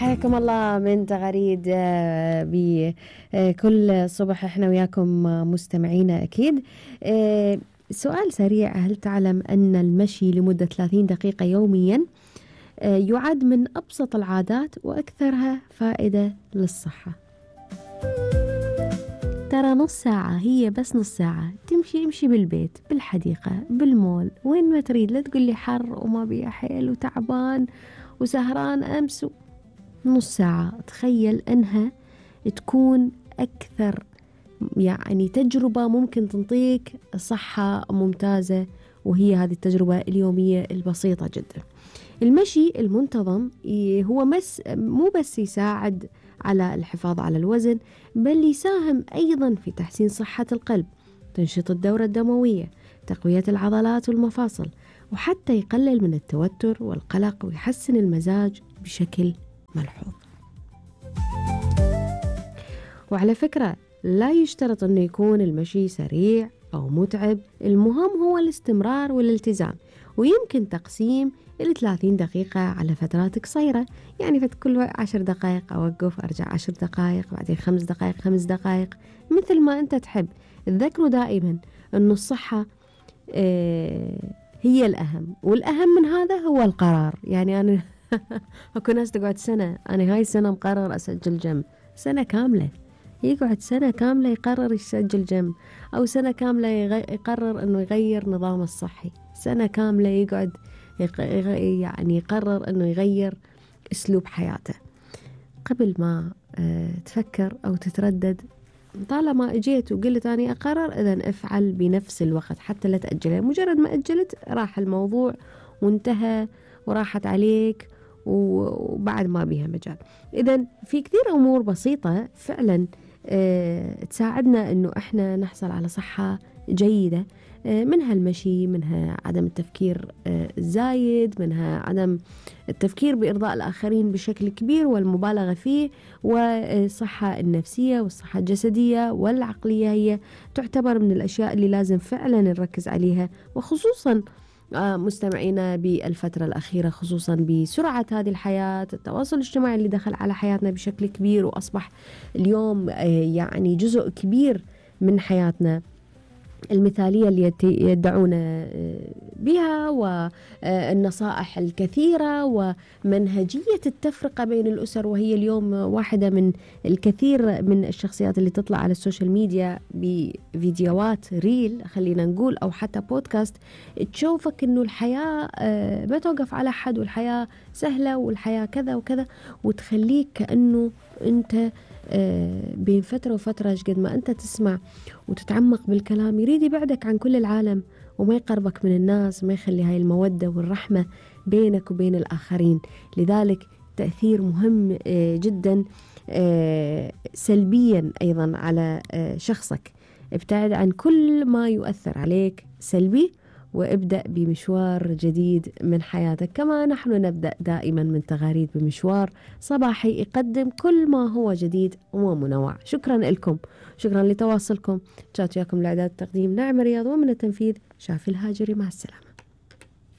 حياكم الله من تغاريد بكل صبح احنا وياكم مستمعينا أكيد. سؤال سريع: هل تعلم أن المشي لمدة 30 دقيقة يوميا يعد من أبسط العادات وأكثرها فائدة للصحة؟ ترى نص ساعة، هي بس نص ساعة امشي بالبيت، بالحديقة، بالمول، وين ما تريد. لا تقول لي حر وما بيها حيل وتعبان وسهران أمس. نص ساعة، تخيل أنها تكون أكثر يعني تجربة ممكن تنطيك صحة ممتازة، وهي هذه التجربة اليومية البسيطة جدا. المشي المنتظم هو مو بس يساعد على الحفاظ على الوزن، بل يساهم أيضا في تحسين صحة القلب، تنشيط الدورة الدموية، تقوية العضلات والمفاصل، وحتى يقلل من التوتر والقلق ويحسن المزاج بشكل ملحوظ. وعلى فكرة لا يشترط أنه يكون المشي سريع أو متعب، المهم هو الاستمرار والالتزام. ويمكن تقسيم 30 دقيقة على فترات قصيرة، يعني كل 10 دقائق أوقف، أرجع 10 دقائق، بعدين 5 دقائق 5 دقائق، مثل ما أنت تحب. تذكروا دائما أنه الصحة هي الأهم، والأهم من هذا هو القرار. يعني أنا أكو ناس تقعد سنة، أنا هاي السنة مقرر أسجل جيم، سنة كاملة، يقعد سنة كاملة يقرر يسجل جيم، أو سنة كاملة يقرر أنه يغير نظامه الصحي، سنة كاملة يقعد يعني يقرر أنه يغير أسلوب حياته. قبل ما تفكر أو تتردد، طالما اجيت وقلت أنا أقرر، إذن افعل بنفس الوقت حتى لا تأجلها. مجرد ما أجلت راح الموضوع وانتهى وراحت عليك وبعد ما بيها مجال. إذن في كثير أمور بسيطة فعلا تساعدنا أنه إحنا نحصل على صحة جيدة، منها المشي، منها عدم التفكير الزايد، منها عدم التفكير بإرضاء الآخرين بشكل كبير والمبالغة فيه، والصحة النفسية والصحة الجسدية والعقلية هي تعتبر من الأشياء اللي لازم فعلا نركز عليها، وخصوصا مستمعينا بالفترة الأخيرة، خصوصا بسرعة هذه الحياة، التواصل الاجتماعي اللي دخل على حياتنا بشكل كبير، وأصبح اليوم يعني جزء كبير من حياتنا المثالية اللي يدعون بها، والنصائح الكثيرة، ومنهجية التفرقة بين الأسر، وهي اليوم واحدة من الكثير من الشخصيات اللي تطلع على السوشيال ميديا بفيديوهات ريل خلينا نقول، أو حتى بودكاست، تشوفك إنه الحياة ما توقف على حد، والحياة سهلة، والحياة كذا وكذا، وتخليك كأنه أنت بين فترة وفترة قد ما أنت تسمع وتتعمق بالكلام يريد يبعدك عن كل العالم، وما يقربك من الناس، وما يخلي هاي المودة والرحمة بينك وبين الآخرين. لذلك تأثير مهم جدا سلبيا أيضا على شخصك. ابتعد عن كل ما يؤثر عليك سلبي، وابدأ بمشوار جديد من حياتك. كما نحن نبدأ دائما من تغاريد بمشوار صباحي يقدم كل ما هو جديد ومنوع. شكرا لكم، شكرا لتواصلكم. جات وياكم الإعداد والتقديم نعمة رياض، ومن التنفيذ شافي الهاجري. مع السلامة.